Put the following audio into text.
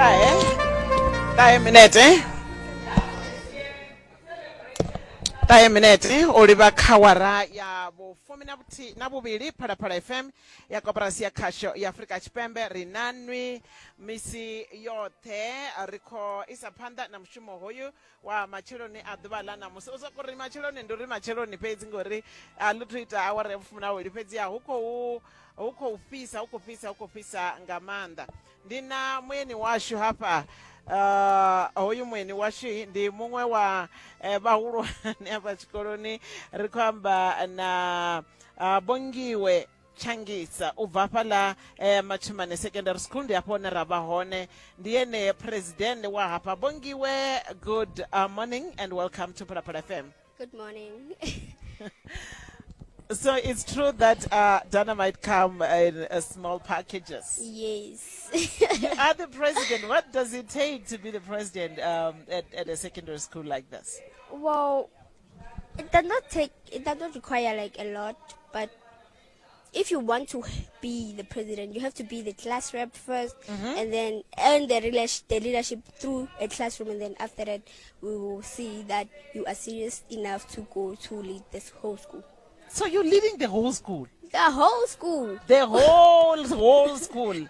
Ṱahe, ṱahe minete, ṱahe minete u livha kha wara ya vhufumi na vhuthihi na vhuvhili. Phalaphala FM ya Koporasi ya Khasho ya Afrika Tshipembe, ri na nwi misi yoṱhe. Ri khou isa phanḓa na mushumo hoyu wa matsheloni a ḓuvha ḽa ṋamusi. U soko ri matsheloni ndi uri matsheloni fhedzi, ngori a ḽi thu ita awara ya vhufumi na vhuvhili, fhedziha hu khou hu khou fhisa, hu khou fhisa, hu khou fhisa nga maanḓa. Ndi na mueni washu hafha. Hoyu mueni washu ndi muṅwe wa vhahulwane hafha tshikoloni. Ri khou amba na Bongiwe Tshangisa u bva hafhaḽa Matshimane Secondary School, ndi hafho hune ra vha hone. Ndi ene president wa hafha. Bongiwe, good morning and welcome to Phalaphala FM. Good morning. So it's true that dynamite come in small packages. Yes. You are the president. What does it take to be the president at a secondary school like this? Well, it does not take, it does not require like a lot, but if you want to be the president, you have to be the class rep 1st and then earn the leadership through a classroom, and then after that, we will see that you are serious enough to go to lead this whole school. So you're leading the whole school? The whole school. The whole school.